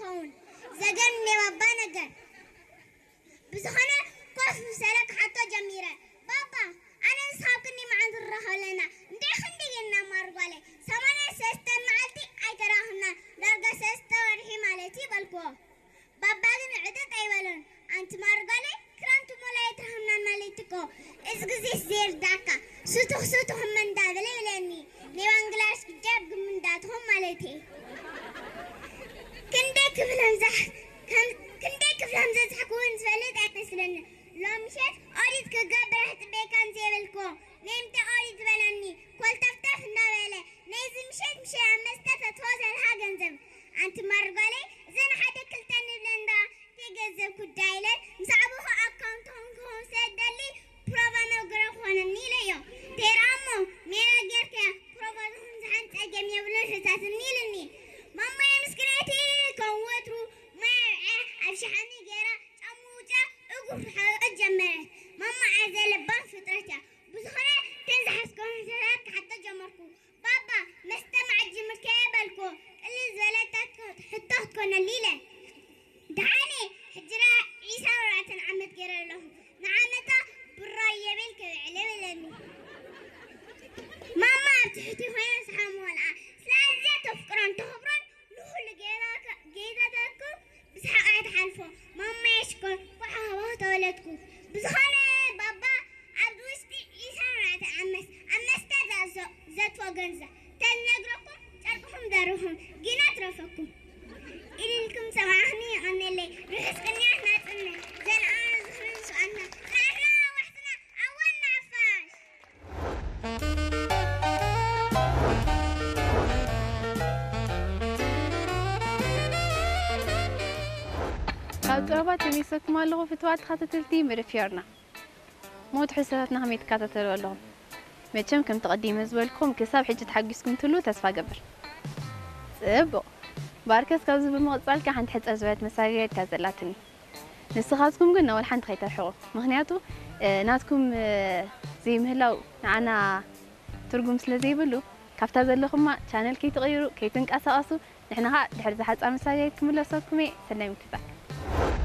ይኸውን። ዘገርም ናይ ባባ ነገር። ብዝኾነ ኮፍ ምስ በለ ክሓቶ ጀሚረ። ባባ፣ ኣነ ንስኻ ኣብ ክንዲ መዓልቲ ንራኸብ ኣለና፣ እንታይ ክንዲ ጌርና ማርጓለይ? ሰማንያ ሰለስተ መዓልቲ ኣይተራኸብናን፣ ዳርጋ ሰለስተ ወርሒ ማለት እዩ በልክዎ። ባባ ግን ዕጥጥ ኣይበሎን። ኣንቲ ማርጓለይ፣ ክረምቲ ሙሉ ኣይተራኸብናን ማለት እኮ። እዚ ግዜስ ዘይርዳእካ፣ ስቱኽ ስቱኽ እመ እንዳበለ ይብለኒ። ናይ ባንግላሽ ግጃብ ግም እንዳትኹም ማለት እየ። ክንደይ ክፍሎም ዘሕ-፣ ከም-፣ ክንደይ ክፍሎም ዘዝሕኩ እውን ዝፈልጥ ኣይመስለኒ። ሎም ምሸት ኦዲት ክገብር ኣሕጽበካ እንዘይበልክዎ፣ ነይምተ ኦዲት በለኒ፣ ኮልተፍተፍ እንዳበለ፣ ነይዚ ምሸት ምሸት ኣብ መስተ ተትሆ ዘልሃ ገንዘብ። ኣንቲ ማርጓለይ፣ እዘን ሓደ ክልተ ንብለን ዳ፣ ተይ ገንዘብ ኩዳ ኢለን፣ ምስ ዓበኹ ኣካውንት ሆንክሆን ስለ ደሊ፣ ፕሮቫ መግረ ክኾነኒ ኢለዮ። ተይራ እሞ፣ ሜላ ጌርካያ፣ ፕሮቫ ዝኹን ዝሓን ጸገም የብሉን ሕታትኒ ኢልኒ። ማማየ ምስክነቲ፣ ከም ወትሩ፣ ማይ ኣብ ሸሓኒ ገይራ፣ ጫምኡ ውፅኣ እግሩ ክሓብእ ጀመረ። ማማ ኣዝያ ለባም ፍጥረት እያ። ብዝኾነ፣ ከም ዝሓስኮ ሕቶታት ክሓቶ ጀመርኩ። ባባ፣ መስተ መዓት ጅምርከ በልኩ። ቅልል ዝበለት ሕቶ ክትኮነሉ ኢለ። ደሓነ፣ ሕጂ ደኣ ዒስራን ኣርባዕተን ዓመት ገይረ ኣለኹ። ንዓመታ ብራይ የብል ከብዕለ በለኒ። ማማ ኣብ ትሕቲ ኮይና ሰሓም ወልዓ። ስለ ኣዝያ ተፍቅሮን ተኽብሮን ንኹሉ ጌጋ-፣ ጌጋታትኩም ብሰሓቕ እያ ትሓልፎ። ማማየ ሽኮር፣ ኳዕ ሃባ ተወለድኩ። ብዝኾነ ባባ፣ ኣብዚ ውሽጢ ዒስራን ኣርባዕተን ዓመት ኣብ መስተ ዘ-፣ ዘትዎ ገንዘብ ተዝነግረኩም፣ ጨርቅኹም ደርብኹም፣ ግና ትረፈኩም። ኢልልኩም ሰማዕኽኒ የቐንየለይ። ርሑስ ቅንያት ናጽነት። ዘልኣለ ዝኽሪ ምስኣና። ጽናሕና ኣዋሕስና፣ ኣወል ንሓፋሽ። ካብ ጥበባት ተመይሰኩም ኣለኹ ፍትዋት ተኸታተልቲ መደብ ፊዮርና። ሞት ሕሰታትና ከመይ ትከታተሉ ኣለኹም? መቸም ከምቲ ቀዲመ ዝበልኩም ክሳብ ሕጂ ተሓጊስኩም ትህሉ ተስፋ ገብር። ጽቡቕ። ባርከስ ካብዚ ብምቕጻል ከ ሓንቲ ሕጽር ዝበለት መሳገሪት እያ ዘላትኒ። ንስኻትኩም ግን ወላ ሓንቲ ከይተርሕቑ። ምኽንያቱ፣ እ፣ ናትኩም፣ እ፣ ዘይምህላው ንዓና ትርጉም ስለ ዘይብሉ፣ ካብታ ዘለኹማ ቻነል ከይትቕይሩ፣ ከይትንቀሳቐሱ፣ ንሕና ኸኣ ድሕሪ ዝሓጻ መሳገሪት ክምለሰኩም እየ። ሰናይ ምክትታል።